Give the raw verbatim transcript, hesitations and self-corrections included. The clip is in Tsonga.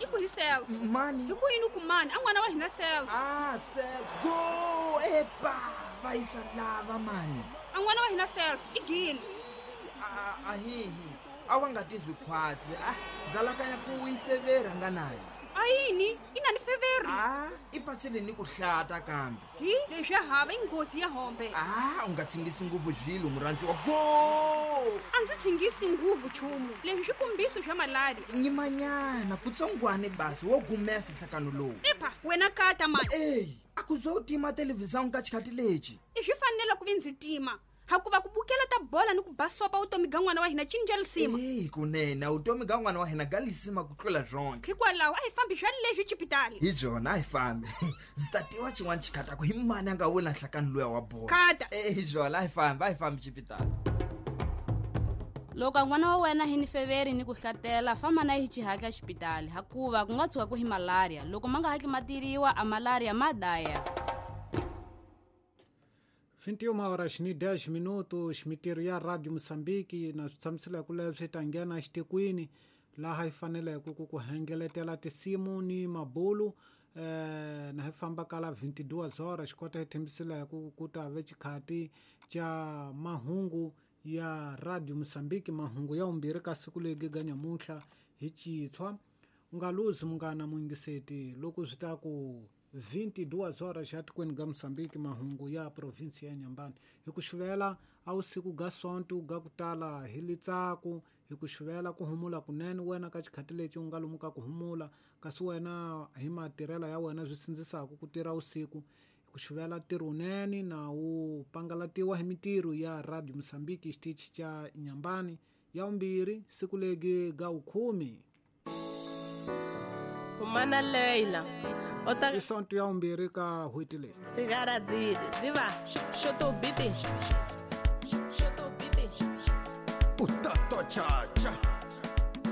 I ku hi self. Mani. Hi ku yini ku mani? A n'wana wa hina self. Ah, self. Go! Epa! Va yisa lava mani. A n'wana wa hina self i gile. A hihi. A wa nga tizwi khwatsi. Ah, zalakanya ku yi fevera nga nayo. A yini? I na ni feveri? Ah, i patsile ni ku hlata kambe. Hi, leswi hava i nghozi ya hombe. Ah, u nga tsingisi nguvu zvilo murhandzi wa go. A ndzi tsingisi nguvu chumu. Leswi swi kombiso swa malaria. Nyimanyana kutsongwane basi wo gumesa nhlakano lowu. Epa, wena kata mani. Ey, a ku zo tima television ka xikhati lexi. I swi fanele ku vi ndzi tima. Hakuva ku bukela ta bola ni ku basopa utomi ga n'wana wa hina cinca lisima. Eh, kunene utomi ga n'wana wa hina ga lisima ku tlula zonke. Hikwalaho a hi fambi swa leswi xipitali. Hi byona a hi fambi. Ndzi ta tiva xin'wana xikhata ku hi mani a nga wina nhlakano luya wa bola. Kata. Eh, hi byona a hi fambi, a hi fambi xipitali. Loko n'wana wa wena hi ni feveri ni ku hlatela famba na hi xihatla xipitali hakuva ku nga tshuka ku hi malaria. Loko ma nga hatli ma tiriwa a malaria ma daya. vinte e uma horas ni dez minutos, mitirho ya Radio Moçambique na swi tshamisela ku leswi ta nghena xitikweni laha hi faneleke ku ku hengeletela tinsimu ni mabulu eh na hi famba kala vinte e duas horas kota hi thembisela ku ku ta ve xikhati xa mahungu ya Radio Moçambique, mahungu ya umbirhi ka siku legi ga nyamuntlha hi Chitshwa. U nga luzi munghana muyingiseti loko swi ta ku vinte e duas horas ya tikweni ga Moçambique, mahungu ya provinsi ya Nyambani. Hi ku xuvela a wusiku ga Sonto ga ku tala hi litsaku, hi ku xuvela ku humula kunene wena ka xikhati lexi u nga lomuka ku humula, kasi wena hi matirhelo ya wena swi sindzisaka ku tirha usiku. Hi ku xuvela ntirho wunene na wu pangalatiwa hi mitirho ya Radio Moçambique xitichi xa Nyambani ya umbirhi siku legi ga wukhume. Humana Leila. Ota Isonto ya umbirhi ka hweti leyi. Sigara dzidi dziva shoto biti shoto biti Utato cha cha.